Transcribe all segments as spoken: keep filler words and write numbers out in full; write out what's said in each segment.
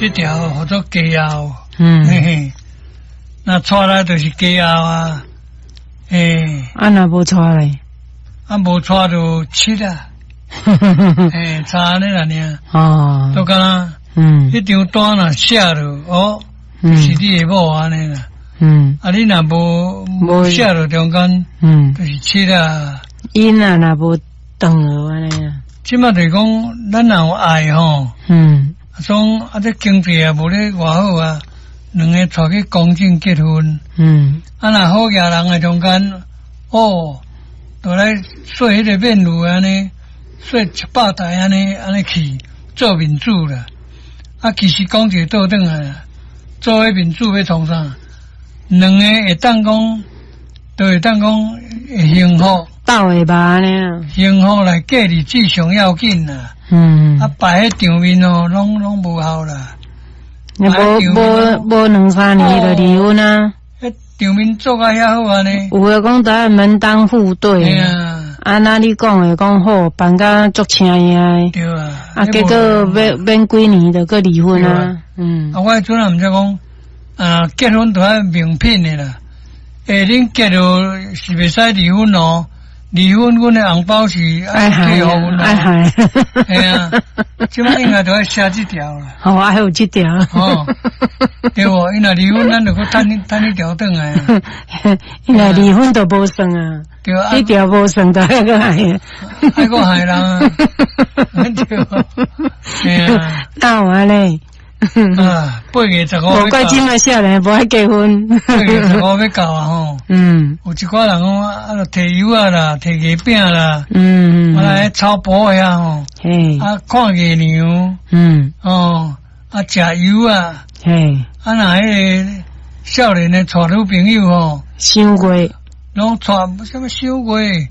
這條號做家後，嗯，嘿嘿，若娶來就是家後啊，嘿，啊若無娶咧，啊無娶就七啊，嘿，差按呢啦爾，哦，都敢若，嗯，彼張單若寫落，哦，就是你的某按呢啦，嗯，啊你若無無寫落中間，嗯，就是七啊，𪜶啊若無斷落按呢啊，這馬就是講，咱若有愛吼，嗯，講啊這經濟也無咧偌好啊，兩个𤆬去公證結婚，嗯，啊若好額人的中間，哦，就來說彼个面具按呢，說一百台按呢按呢去做面子啦，啊其實講一個倒轉來，做彼面子欲創啥？兩个會當講，都會當講會幸福。鬥會吧按呢啊？幸福來過日子上要緊啦。嗯。啊，擺彼場面哦，攏攏無效啦。無無無兩三年就離婚啊？彼場面做甲遐好按呢？有的講都愛門當戶對。啊。啊，那你講的講好，辦甲足請的。對啊。啊，結果免免幾年就閣離婚啊。嗯。啊，我彼陣也毋知講，啊，結婚都愛明品的啦。欸，恁結了是袂使離婚哦。離婚，阮的紅包是愛退予阮愛害。嘿啊，這馬應該都愛寫這條啦。哦，還有這條。哦，對無？伊若離婚，咱就閣趁彼趁彼條轉來。伊若離婚就無算啊。對啊。彼條無算，就愛閣害。愛閣害人啊。對。嘿啊。哪有按呢？啊，八月十五。無怪這馬少年無愛結婚。八月十五欲到啊吼。嗯。有一寡人講啊，就提柚仔啦，提月餅啦。嗯。啊來草埔遐吼。嘿。啊，看月娘。嗯。哦，啊，食柚仔。嘿。啊，若彼個少年的𤆬女朋友吼。賞月。攏𤆬啥物賞月？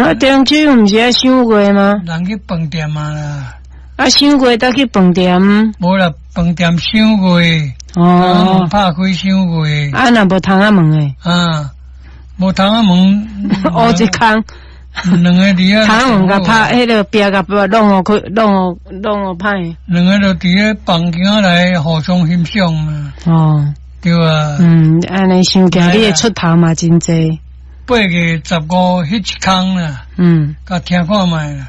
啊，中秋毋是愛賞月嗎？人去飯店啊啦。啊，賞月才去飯店。無啦，飯店賞月。哦。拍開賞月。啊，若無窗仔門的。啊，無窗仔門。烏一空。兩个佇遐。窗仔門共拍，彼个壁共弄予開，弄予弄予歹。兩个就佇咧房間內互相欣賞嘛。哦。對啊。嗯，按呢想起來，你的出頭嘛真濟。八月十五彼一空啦。嗯。共聽看覓啦。